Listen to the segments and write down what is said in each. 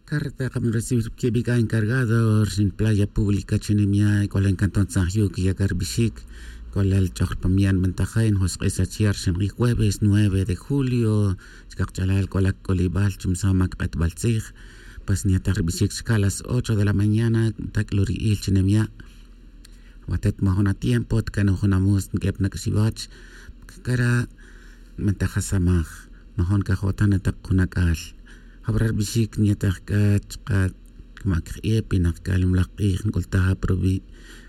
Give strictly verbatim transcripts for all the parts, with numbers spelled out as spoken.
Carta kami recibir kibi k'a encargado rixin playa pública chi nimya' k'ola en cantón san jyu kiya' k'a rbixic. K'ola ch'oj rpamiya' nbentaja en josq'isa chiya' rixin q'i' jueves nueve de julio. Chkaq ch'alal k'ola k'olibal chumsama kq'etbal tzij. Pues nyataj rbixic chka las ocho de la mañana. Tak'lu ri'il chi nimya'. Watet majun atiempo tkanoj jun amus nk'ep nak'xiwach. Kara' mentaja samaj. Majun kajotan ataq jun ak'al. Jabra rbixic nyataj k'a chka' kma' kj'e' pinaq k'a limlaj q'ij nk'ultaj aprubi'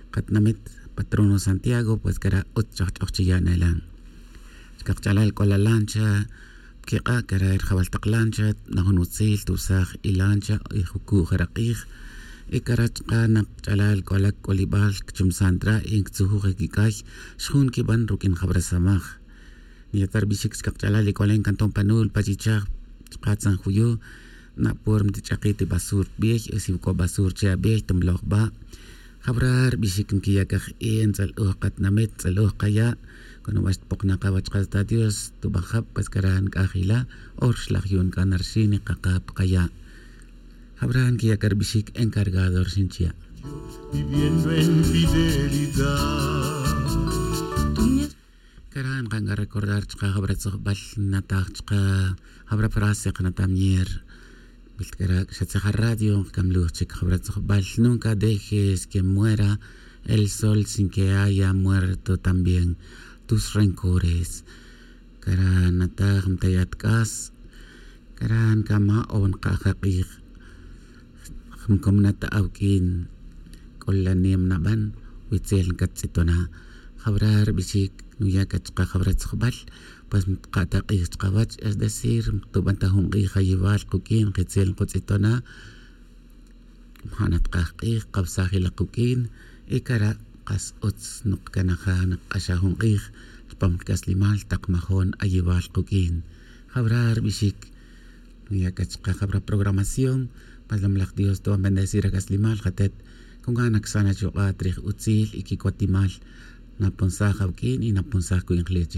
qatinamit patrono santiago pues kara' utz ch'oj ch'oj chi ya' nelan. Chkaq ch'alal k'ola lancha pkiq'a' kara' rijabal taq lancha najun utzil tubsaj y lancha y juku' jara' q'ij. Y kara' chka' naq ch'alal k'ola k'olibal kchumsan tra y nktzujoj kik'ay xjun kiban ruk'in jabra samaj. Niyata' rbixic chkaq ch'alal y k'ola en cantón panul pachichaj chka' tzan juyu. Napor mtich'akit y basur bey o si k'o basur che abey tumloj ba'. Jabra rbixic nkiya' k'a j'e' ntz'al'oj qatinamit ntz'al'oj qaya'. Cuando wach tpoknaq awach qas ta dios tuba jab pues kara' nk'aj ila. Or xlaj yu'un k'a narxin y qaqap qaya'. Jabra nkiya' k'a rbixic encargado rixin chiya'. Viviendo en fidelidad. Kara' nqan k'a recordar chka jabra tzojbal nataj chka jabra frase qnatam nyer. Bil kara' xa tzija radio nqkamluj chik jabra tzojbal nunca dejes que muera el sol sin que haya muerto también tus rencores. Kara' nataj mtayat k'as. Kara' nkama' o nqaja q'ij. Jmkom nata' awk'in k'ola nim naban witzel nkattz'itona'. Jabra rbixic nuya' k'a chka jabra tzojbal. Pues mtqa'ta q'ij chkawach es decir mtuban ta jun q'ij ayewal quk'in qitzel nkutz'itona'. Mja' natkaj q'ij kawsaj ilak quk'in. Y kara' kas utz nukcanaja nakq'axa jun q'ij chpam rc'aslimal tak majon ayewal quk'in. Jawra rbixic nuya' c'a chka jawra programación. Mas lomlaj dios tuban bendecir ac'aslimal jatet. Con gana csan achuk'a' trij utzil y quicotimal. Naponsaj awuq'uin y naponsaj cu'injlech.